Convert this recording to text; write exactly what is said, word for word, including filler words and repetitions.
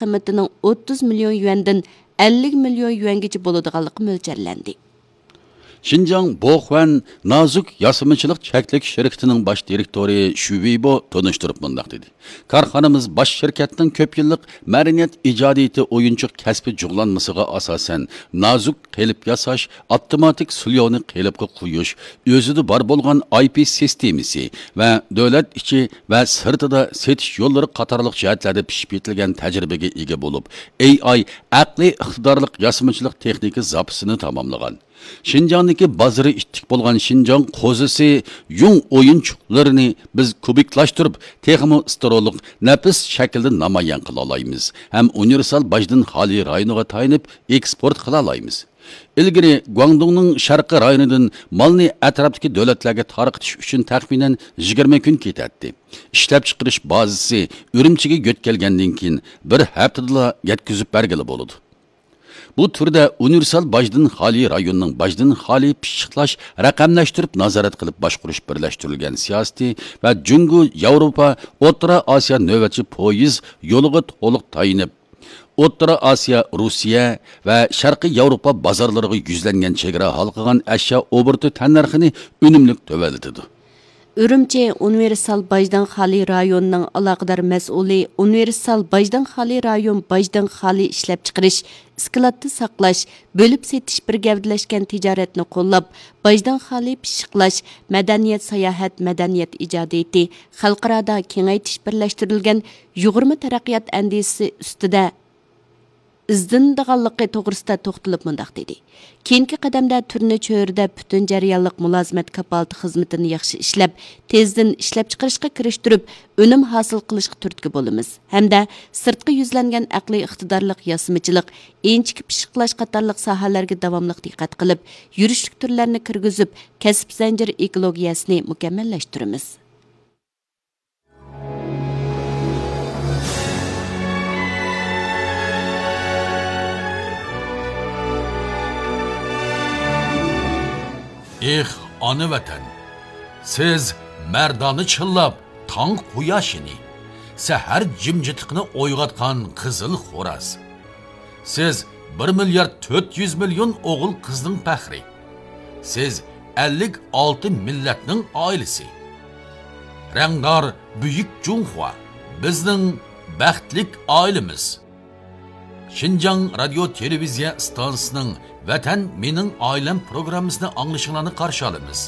قىممىتىنىڭ ئوتتۇز مىليون يۈەندىن ئەللىك مىليون يۈەنگىچە بولىدىغانلىقى مۆلچەرلەندى. شىنجاڭ بوخۈەن نازۇك ياسىمىچىلىق چەكلىك شىركىتىنىڭ باش دىرېكتورى شۈ ۋېيبو تونۇشتۇرۇپ مۇنداق دېدى: كارخانىمىز باش شىركەتنىڭ كۆپ يىللىق مەدەنىيەت ئىجادىيىتى ئويۇنچۇق كەسپى جۇغلانمىسىغا ئاساسەن، نازۇك قېلىپ ياساش، ئاپتوماتىك سۇليونى قېلىپقا قويۇش، ئۆزىدە بار بولغان ئاي پى سىستېمىسى ۋە دۆلەت ئىچى ۋە سىرتىدا سېتىش يوللىرى قاتارلىق جەھەتلەردە پىشىپ يېتىلگەن تەجرىبىگە ئىگە بولۇپ، ئېي ئاي ئەقلىي ئىقتىدارلىق ياسىمىچىلىق تېخنىكا زاپىسىنى تاماملىغان. شىنجاڭدىكى بازىرى ئىتتىك بولغان شىنجاڭ قوزىسى يۇڭ ئويۇنچۇقلىرىنى بىز كۇبىكلاشتۇرۇپ، تېخىمۇ ستېرېئولۇق، نەپىس شەكىلدە نامايان قىلالايمىز ھەم ئۇنىۋېرسال باجدىن خالىي رايونىغا تايىنىپ ئېكسپورت قىلالايمىز. ئىلگىرى گۇاڭدۇڭنىڭ شەرقىي رايونىدىن مالنى ئەتراپتىكى دۆلەتلەرگە تارقىتىش ئۈچۈن تەخمىنەن يىگىرمە كۈن كېتەتتى. ئىشلەپچىقىرىش بازىسى ئۈرۈمچىگە يۆتكەلگەندىن كېيىن، بىر ھەپتىدىلا يەتكۈزۈپ بەرگىلى بولىدۇ. بۇ تۈردە ئۇنىۋېرسال باجدىن خالىي رايوننىڭ باجدىن خالىي پىششىقلاش، رەقەملەشتۈرۈپ نازارەت قىلىپ باشقۇرۇش بىرلەشتۈرۈلگەن سىياسىتى ۋە جۇڭگو ياۋروپا ئوتتۇرا ئاسىيا نۆۋەتچى پويىز يولىغا تولۇق تايىنىپ، ئوتتۇرا ئاسىيا، روسىيە ۋە شەرقىي ياۋروپا بازارلىرىغا يۈزلەنگەن چېگرا ھالقىغان ئەشيا ئوبوروتى تەننەرخىنى ئۈنۈملۈك تۆۋەنلىتىدۇ. ئۈرۈمچى ئۇنىۋېرسال باجدىن خالىي رايونىنىڭ ئالاقىدار مەسئۇلى ئۇنىۋېرسال باجدىن خالىي رايون باجدىن خالىي ئىشلەپچىقىرىش، ئىسكىلاتتا ساقلاش، بۆلۈپ سېتىش بىر گەۋدىلەشكەن تىجارەتنى قوللاپ، باجدىن خالىي پىششىقلاش، مەدەنىيەت ساياھەت، مەدەنىيەت ئىجادىيىتى، خەلقئارادا كېڭەيتىش بىرلەشتۈرۈلگەن يۇغۇرما تەرەققىيات ئەندىزىسى ئۈستىدە ئىزدىنىدىغانلىقى توغرىسىدا توختىلىپ مۇنداق دېدى: كېيىنكى قەدەمدە تۈرنى چۆرىدە پۈتۈن جەريانلىق مۇلازىمەت كاپالىتى خىزمىتىنى ياخشى ئىشلەپ، تېزدىن ئىشلەپچىقىرىشقا كىرىشتۈرۈپ، ئۈنۈم ھاسىل قىلىشقا تۈرتكە بولىمىز ھەمدە سىرتقا يۈزلەنگەن ئەقلىي ئىقتىدارلىق ياسىمىچىلىق، ئىنچىكە پىششىقلاش قاتارلىق ساھەلەرگە داۋاملىق دىققەت قىلىپ، يۈرۈشلۈك تۈرلەرنى كىرگۈزۈپ، كەسىپ زەنجىرى ئېكولوگىيەسىنى مۇكەممەللەشتۈرىمىز. ئېھ، ئانا ۋەتەن! سىز مەردانە چىللاپ تاڭ قۇياشىنى، سەھەر جىمجىتلىقىنى ئويغاتقان قىزىل خوراز. سىز بىر مىليارد تۆت يۈز مىليون ئوغۇل قىزنىڭ پەخرى. سىز ئەللىك ئالتە مىللەتنىڭ ئائىلىسى. رەڭدار بۈيۈك جۇڭخۇا، بىزنىڭ بەختلىك ئائىلىمىز. شىنجاڭ رادىيو تېلېۋىزىيە ئىستانسىسىنىڭ ۋەتەن مېنىڭ ئائىلەم پروگراممىسىنى ئاڭلىشىڭلارنى قارشى ئالىمىز.